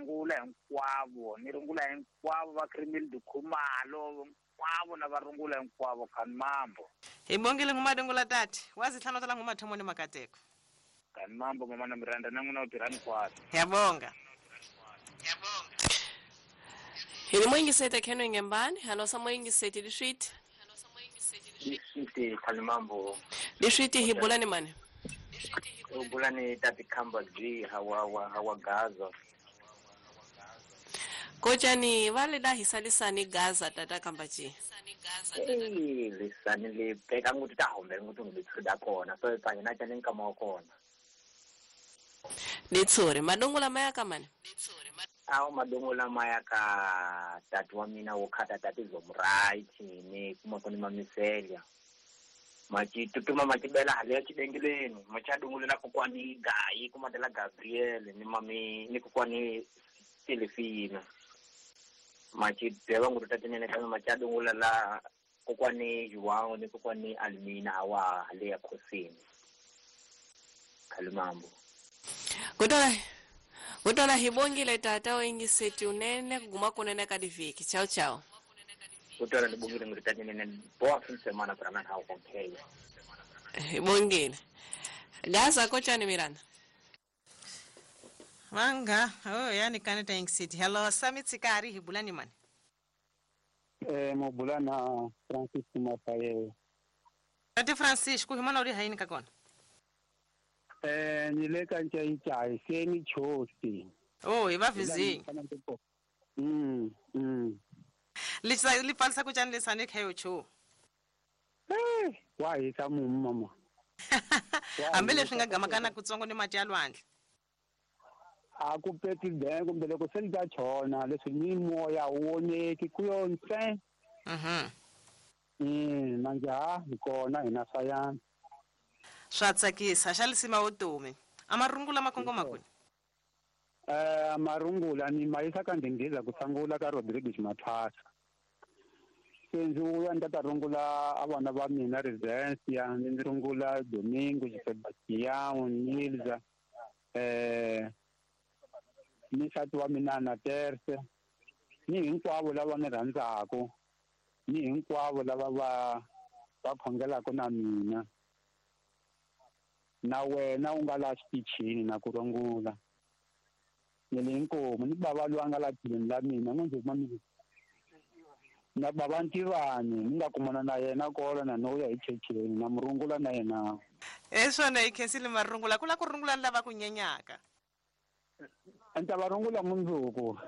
rungula hinkwavo, ni rungula hinkwavo va Krimil Dukhumalo, hinkwavo na va rungula hinkwavo khani mambo. Hi bongile ngumadungula tati, wazihlanu tala ngumathomo ni makateko. Khani mambo mama na Miranda na n'wina u tirha hinkwaswo. Yabonga. Hi ni moyingisete Kenwe Ngembani, halo sa moyingiseti liswiti. Liswiti khani mambo. Liswiti hi bula ni mani? U bula ni tati Khamba G hawa Gaza. Kojani vale da hisalisani Gaza tata Khamba G. Eh, lisani le peka nguti ta hombe nguti ngithuda kona. So ipanye na tshane nkama wa kona. Litsuri madungula maya kamani? Awu madungula maya ka tati wa mina wo khata tati zomright ni kuma koni mamiselya. Machitutuma machibela hali ya chidengeleni machadungulela kokwani Gayi kumatela Gabriel ni mami ni kokwani Selefina. Machibela ngutu tatinene kama machadungulela kokwani Juwao ni kokwani Almina hawa hali ya Khosini. Kalimambo. Kutola hibongile tata wengiseti unene kuguma kunene kadiviki. Ciao ciao. Kutola nibongile ngithathe nene boa semana para hawo kompela. Hibongile. Gaza kocha ni Miranda. Manga, oh yani kaneta ingiseti. Hello Sami Tsikari hibulani mani. Mobulana Francisco Mafaye. Ate Francisco himana uri haini kakona. Nileka ntshayi seni chosi. Oh, iba vizingi. Lisa lipalisa kutshani lesane khayo cho. Wa hisa mumu mama. Ambele swi nga gamakana kutsongo ni mati ya lwandle. A ku peti den kumbe loko se li ta chona leswi ni moya wu voneki ku yo ntse. Manje ha hi kona hina sayana. Swa tsakisa xa lisima vutomi. Amarungula makongoma kwini? Amarungula ni mayisa ka ndinghiza ku sangula ka Rodriguez Mathwasa. Se ndzi vuya ni ta rungula a vana va mina Resensia, ni rungula Domingo, Sebastião, Nilza, ni nsati wa mina na Terse, ni hinkwavo lava ni rhandzaku, ni hinkwavo lava va khongelaka na mina. Na wena u nga la xitichini na ku rungula. Ni le inkomu ni bava loyi a nga la tlhelweni la mina n'wi mami. Na bava Ntivani ni nga kumana na yena kona na no ya hi checheni na murungula na yena. Eswona hi khensile marungula ku la ku rungula ni lava ku nyenyaka. Anta va rungula mundzuku.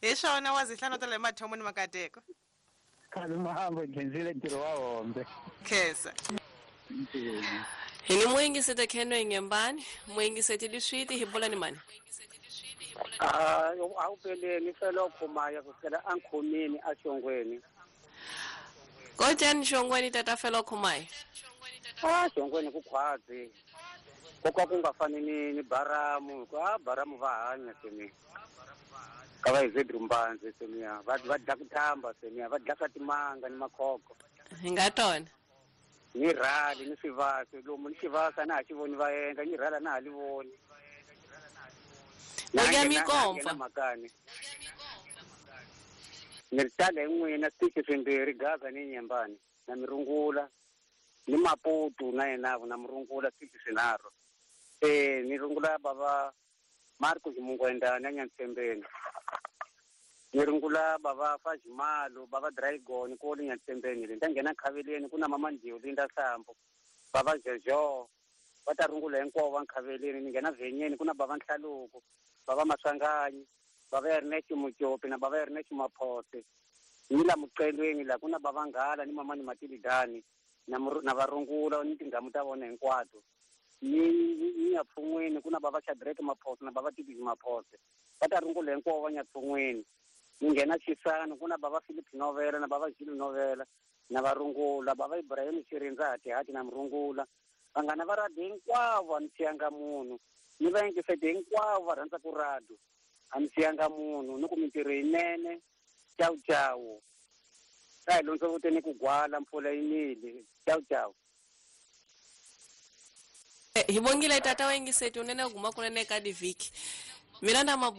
Hi swona wa zihlanu ta le mathomo ni makateko. Khale mahambo khensile ntirho wa hombe. Khensa. Hi ni moyingisete Kenwe Ngembani, moyingisete liswiti hi bula ni mani? Awupeleni felo khumaya kusukela ankhomeni axongweni. Kojani xongweni tata felo khumaya? Xongweni ku khwazi. Koka ku nga fani ni baramu, ka baramu va hanya semi. Ka va izedru mbanzi semi, va dla ku thamba semi, va dla swa timanga ni makhoko. Hi nga tona. Ni rhali ni swivasa lomu ni xivasa na ha xi voni va endla ni rhala na ha li voni. Ndya mikomfa. Makani. Ni ri tala hi n'wina switichi swimbirhi Gaza ni Nyembani na Mirungula ni Maputo na yena na Murungula switichi swinharhu. Ni rungula bava Marco Ximungwenda na Nyantsembeni. Ni rungula bava Fajimalo bava Dragon ko le Nyantsembeni le nda nghena Khaveleni ku na mama Ndiyo Linda Sambo bava Jojo va ta rungula hinkwavo va Nkhaveleni. Ni nghena Vhenyeni ku na bava Nhlaluko bava Maswanganyi bava Ernest Mujopi na bava Ernest Maphose. Ni la Muqelweni la ku na bava Nghala ni mama ni Matilidani na varungula ni tinghamu ta vona hinkwato. Ni ya pfun'weni ku na bava Shadrack Maphose na bava Tibi Maphose va ta rungula hinkwavo va Nyapfun'weni. Ni nghena Xisano ku na bava Philip Novela na bava Gilles Novela na varungula bava Ibrahim Xirindza Hatihati na murungula. Vanghana va radio hinkwavo a ni siyanga munhu, ni va yingisete hinkwavo va rhandza ku radio a ni siyanga munhu, ni ku mintirho yinene. Ciao ciao. Ka hi londzo vuteni ku gwala mpfula yi nile. Ciao ciao. Hi bongile tata wa yingiseti unene guma kunene ka divhiki. Miranda Mabu